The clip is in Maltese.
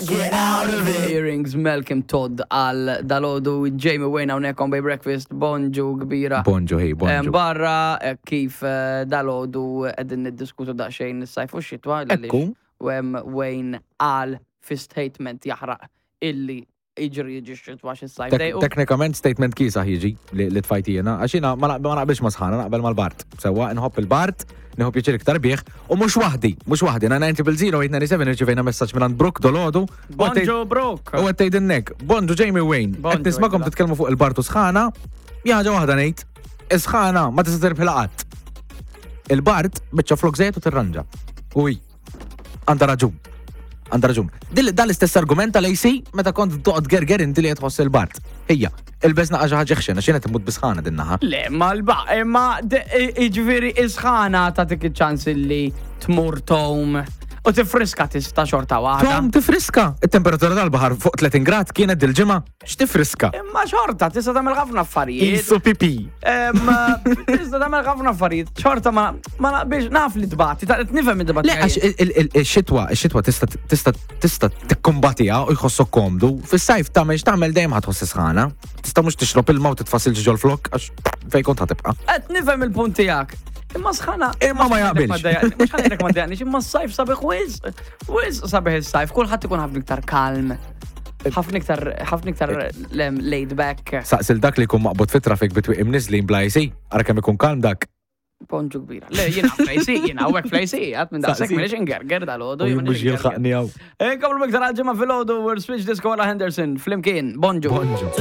get out of it. Earrings Malcolm Todd għal dalodu Jamie Wayne hawnhekk on Bay Breakfast, bonġu kbira. Bonġu, hey, bonġu. Barra eh, kif eh, dalodu qegħdin niddiskutu daqsxejn is-sajf u x-xitwa. Ekku. Wayne qal fi statement jaħraq illi jiġri jiġi x-xitwa xis-sajf. Teknikament statement kiesaħ jiġi li tfajt jiena, għax jiena ma naqbilx ma' sħana, naqbel mal-bart. Sewwa, nħobb il-bart, nieħu pjaċir iktar bih, u mhux waħdi, mhux waħdi, 900 0 irċivejna messaġġ minn Brooke dolodu. Bonġu Brooke! U qed tgħidilnek, bonġu Jamie Wayne, qed nismakom titkellmu fuq il-bart u sħana, ħaġa waħda ngħid, is-sħana ma tista' tirbħilha qatt. Il-bart biċċa flok żejt u tirranġa. Uj. Għandha raġun. Għandha raġun. Dan l-istess argument tal-AC meta kont toqgħod gerger inti li qed tħoss il-bart. Ejja, ilbes naqa' xi ħaġa ħxen għax jiena timmut bisħana din naħa. Le, ma l-ba, imma jiġifieri isħana tagħtik iċ-ċans illi tmur tom u tifriska tista' xorta waħda. Tom tifriska. It-temperatura tal-baħar fuq 30 grad kienet dil-ġimgħa. X'tifriska? Imma xorta, tista' tagħmel ħafna affarijiet. Isu pipi. Tista' tagħmel ħafna affarijiet. Xorta ma ma naqbilx naf li tbati, ta' nifhem id-debati. Le, għax il-xitwa, ix-xitwa tista' tista' tista' tikkumbatiha u jħossok komdu. Fis-sajf tagħmel x'tagħmel dejjem ħa tħoss sħana. Tista' mhux tixrob ilma u titfasil ġol flok għax fejn kont ħatibqa'. Qed nifhem il-punt tiegħek. Imma sħana. Imma ma jaqbilx. Mhux ħanilek ma dejaqniex, imma s-sajf sabiħ wisq. Wisq sabiħ is-sajf, kulħadd ikun ħafna iktar kalm. Ħafna iktar, ħafna iktar laid back. Saqsil dak li jkun maqbud fit-traffic bitwi imniżlin bla AC, ara kemm ikun kalm dak. Ponġu kbira. Le, jiena fl-AC, jiena hawnhekk fl-AC, għat minn daqshekk m'iniex ingerger dal-għodu. Mhux jilħaqni hawn. Inkomplu iktar għal-ġimgħa filgħodu, Switch Disco wara Henderson, flimkien, bonġu. Bonġu.